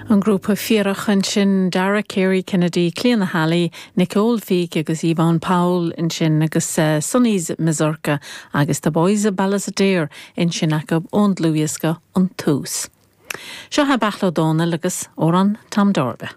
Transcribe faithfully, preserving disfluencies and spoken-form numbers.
An grúpa Fuireach ansin Dara Carey Kennedy, Clíona Halley, Nicole Feek agus Yvonne Powell ansin agus uh, Sonny's Mazurka agus The Boys of Ballisodare ansin acu ón dlúthdhiosca An Tús. Seo é Beairtle Ó Domhnaill agus Amhrán Tom Darby.